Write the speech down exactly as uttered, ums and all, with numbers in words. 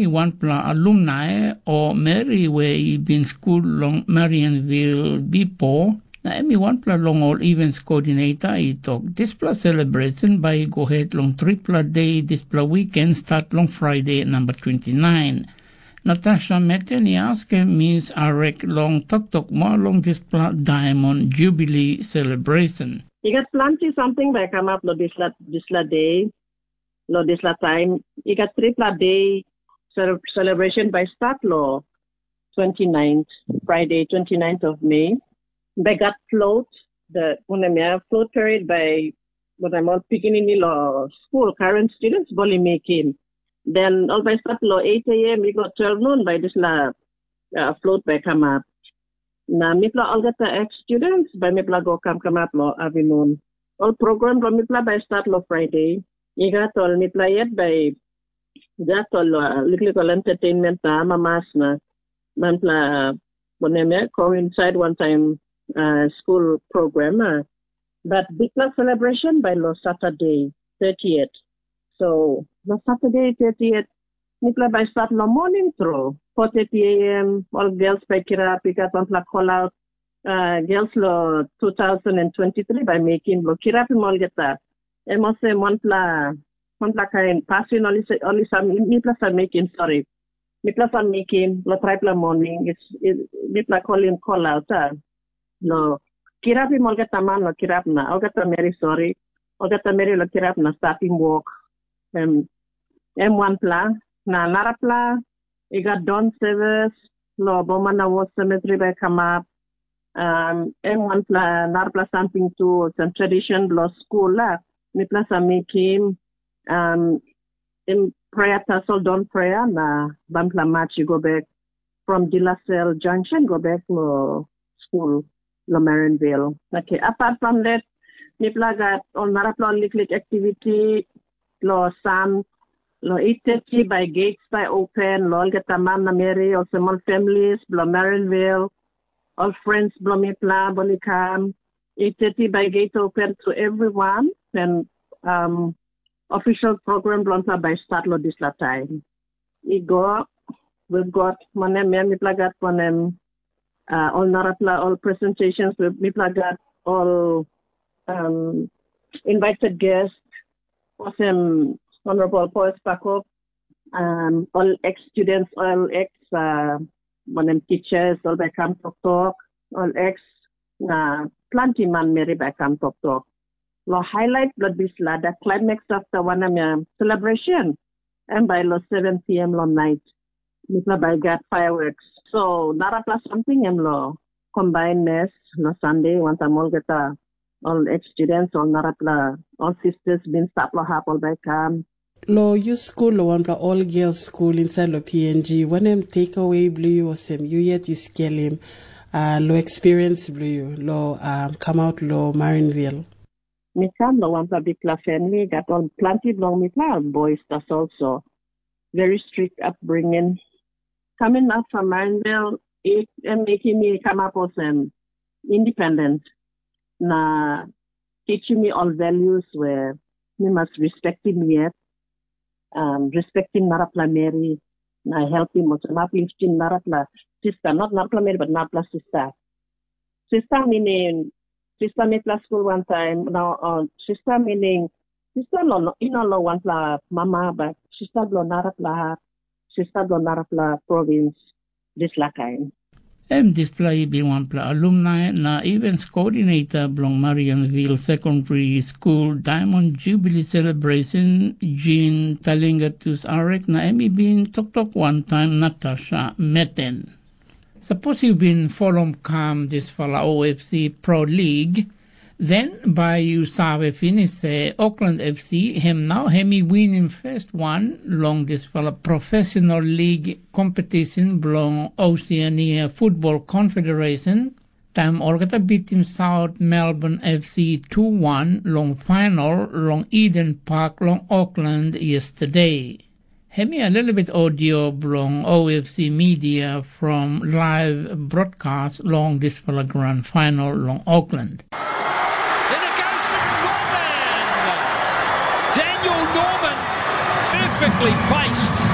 I wanpela alumni o meri we i bin skul long Marianville bipo, na em i wanpela long ol events coordinator i tok dispela celebration bai i go het long tripela de dispela weekend start long Friday number twenty-nine. Natasha Meten i askim Miss Arek long toktok moa long dispela Diamond Jubilee celebration. I gat planti samting bai kamap long dispela, dispela de. Long dispela taim i gat tripela de celebration bai start long twenty-ninth, Friday twenty-ninth of May. Bai gat float, the wanem ya, float parade bai wanem ol pikinini long school, current students bai ol i mekim. Then ol bai start long eight a.m. i go twelve noon bai dispela uh, float bai kamap. Na mipela olgeta ex students bai mipela go kam kamap long avinun. Ol program bilong mipela bai start long Friday. I gat ol mipela yet bai gat ol uh, liklik ol entertainment na amamas na manpela wanem ya coincide wantaim uh, school program. Uh. But bikpela celebration bai long Saturday, thirtieth. So long Saturday, thirtieth, mipela bai start long morning tru, four thirty a.m. Ol girls bai kirap, i gat wanpela call out uh, girls lo two thousand and twenty-three bai mekim lo kirapim olgeta. Em olsem wanpela wanpela kain pasin ol i sa- ol i sa mipela sa mekim, sorry. Mipela sa mekim lo traipela morning is is- mipela kolim call out a. Lo kirapim olgeta man lo kirap na olgeta meri, sorry. Olgeta meri lo kirap na statim wok. Em em wanpela na narapela i gat don sevis lo Boma na Wos Cemetery bai kamap. Um, em wanpela narapela samting tu olsem tradition bilong skul la mipela sa mekim um, em prayer tasol don prayer na bampela match i go bek from Dilasel Junction go bek lo skul lo Marinville. Okay, apart from that, mipela gat ol narapela ol liklik activity lo san lo eight thirty by gates by open lo olgeta man na meri olsem ol families bilong Marinville, ol friends bilong mipela bai ol i kam. Eight thirty by gate open to everyone and um, official program bilong mipela bai start lo dispela taim. I go, we've got wanem ya mipela gat wanem uh, ol narapela ol presentations mipela gat ol um, invited guest olsem Honorable Paul Spakop, um, ol ex students, ol ex uh, wanem teachers, ol bai kam toktok, ol ex na planti manmeri bai kam toktok. Lo highlight bilong dispela the climax of the wanem ya celebration em bai lo seven p.m. long night. Mipela bai gat fireworks. So narapela samting em lo combine mess lo Sunday wantaim olgeta ol ex students ol narapela ol sisters bin stap lo hap ol bai kam. Lo yu skul lo wanpela ol girls skul inside lo P N G, wanem takeaway bilong yu olsem yu yet yu skelim uh, lo experience bilong yu lo um, come out lo Marinville? Mi kam long wanpela bikpela famili gat ol planti bilong mipela boys tasol so very strict upbringing. Coming up from Marinville, it em mekim mi kamap olsem independent na teaching mi ol values where mi mas respectim yet, um, respectim narapela meri na helpim olsem uplifting narapela sista, not narapela meri but narapela sista. Sista meaning sista mipela skul wantaim na uh, sista meaning sista lo i no lo wanpela mama but sista bilong narapela hap, sista bilong narapela provins, dispela kain. Em dispela i bin wanpela alumni na events coordinator bilong Marianville Secondary School Diamond Jubilee Celebration, Jean Talingatus Arek na em i bin toktok wantaim Natasha Meten. Sapos yu bin folom kam dispela O F C Pro League, then bai yu save pinis se Auckland F C em nau em i winim first wan long dispela professional league competition bilong Oceania Football Confederation, taim olgeta bitim South Melbourne F C two one long final long Eden Park long Auckland yesterday. Hemia lelebet audio bilong O F C Media from live broadcast long dispela grand final long Auckland. Then it goes to Norman. Daniel Norman, perfectly placed.